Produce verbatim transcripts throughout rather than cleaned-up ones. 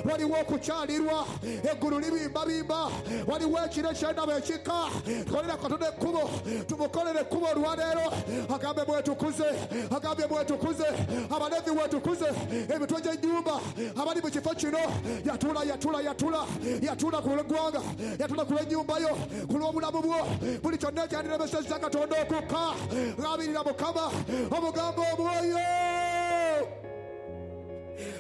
Waliwo okukyalirwa, eggulu libimbabimba, waliwo ekiro eky'endaba ekika. Tukolera Katonda ekkubo, tumukolere ekkubo olwaleero. Agambe mwetukuze, agambye mwetukuze, Abalevi wetukuze, emitwe gy'ennyumba abali mu kifo kino. Yatula, yatula, yatula, yatula ku lw'eggwanga, yatula ku lw'ennyumba yo, ku lw'obulamu bwo. Buli kyonna ekyandiremesezza Katonda okukka, labirira Mukama, omugambo omwoyo.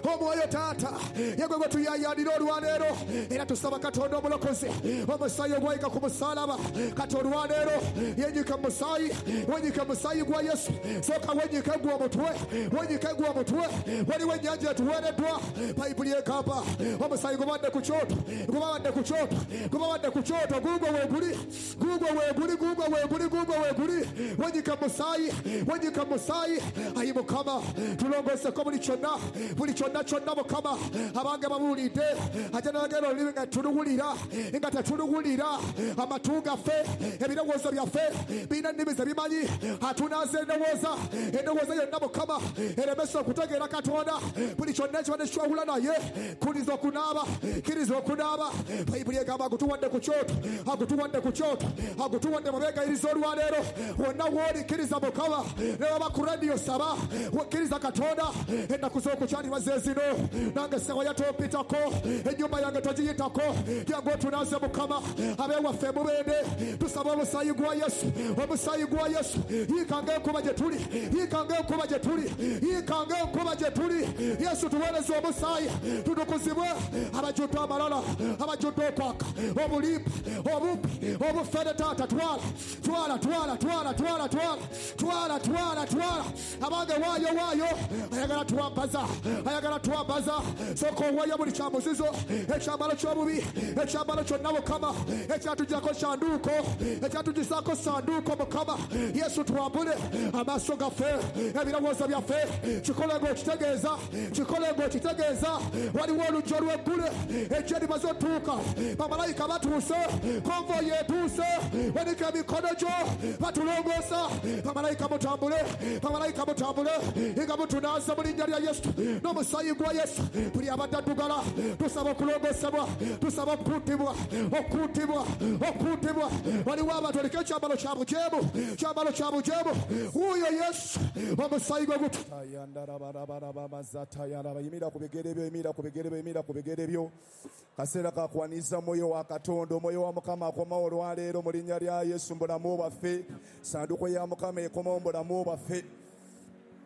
Omwoyo taata yegwe gwe tuyayanira olwaleero, era tusaba Katonda omulokozi, omusaayi ogwayika ku musaalaba. Kati olwaleero yenyike musaayi, wenyike musaayi gwa Yesu. Sooka wenyike gwe omutwe, wenyike gwe omutwe. Waliwo ennyanja etuweereddwa. Bayibuli egamba omusaayi gubadde ku kyoto, gubadde ku kyoto, gubadde ku kyoto. Gugwo weeguli, gugwo weeguli, gugwo weeguli, gugwo weeguli. Wenyike musaayi, wenyike musaayi. Ayi Mukama, tulongooseko buli kyonna, buli kyonna kyonna Mukama. Abange babuulidde, ate nagenda olulimi nga tuluwulira, nga tetuluwulira. Amatu gaffe, ebirowoozo byaffe birina ennimi ze bimanyi. Atunaaza endowooza, endowooza yonna Mukama eremesa okutegeera Katonda. Buli kyonna ekibadde kikwawula naye, kkiriza okunaaba, kkiriza okunaaba. Bayibuli egamba agutuwadde ku kyoto, agutuwadde ku kyoto, agutuwadde mu beegayiriza olwaleero. Wonna w'oli kkiriza Mukama, ne baba ku rediyo saba, kkiriza Katonda. Ennaku z'okukyalirwa ze zino, nange sewaya tompitako, ennyumba yange togiyitako. Jangu otunaaze Mukama. Ab'ewaffe mubende, tusaba omusaayi gwa Yesu, omusaayi gwa Yesu. Yiikanga enkuba gye tuli, yiikanga enkuba gye tuli, yiikanga enkuba gye tuli. Yesu tuweereze omusaayi, tutukuzibwe. Abajjudde amalala, abajjudde okwaka, obulimba, obubbi, obufere, taata twala, twala, twala, twala, twala, twala, twala, twala, twala. Abange waayo, waayo, ayagala twambaza, ayagala twambaza. Sooka owaayo buli kya muzizo, ekyambalo ky'obubi, ekyambalo kyonna Mukama, ekyatuggyako ssanduuko, ekyatugisaako ssanduuko Mukama. Yesu twambule amaaso gaffe, ebirowoozo byaffe. Kikole ng'okitegeeza, kikole ng'okitegeeza. Waliwo oluggi olw'eggulu, ejje limaze otuuka, bamalayika batuuse, konvoyi etuuse. Wanika emikono gyo, batulongoosa. Bamalayika mutambule, bamalayika mutambule, nga mutunaaza mu linnya lya Yesu n'omusaayi gwa Yesu. Buli abadde addugala, tusaba okulongoosebwa, tusaba okukuutibwa, okukuutibwa, okukuutibwa. Waliwo abantu oliko ekyambalo kya bujeemu, kyambalo kya bujeemu. Wuuyo Yesu, omusaayi gwe gutu. Yimira ku bigere byo, yimira ku bigere byo, yimira ku bigere byo. Kaseera ka kuwaniriza mwoyo wa Katonda, omwoyo wa Mukama akomawo olwaleero mu linnya lya Yesu mu bulamu bwaffe. Ssanduuko ya Mukama ekomawo mu bulamu bwaffe.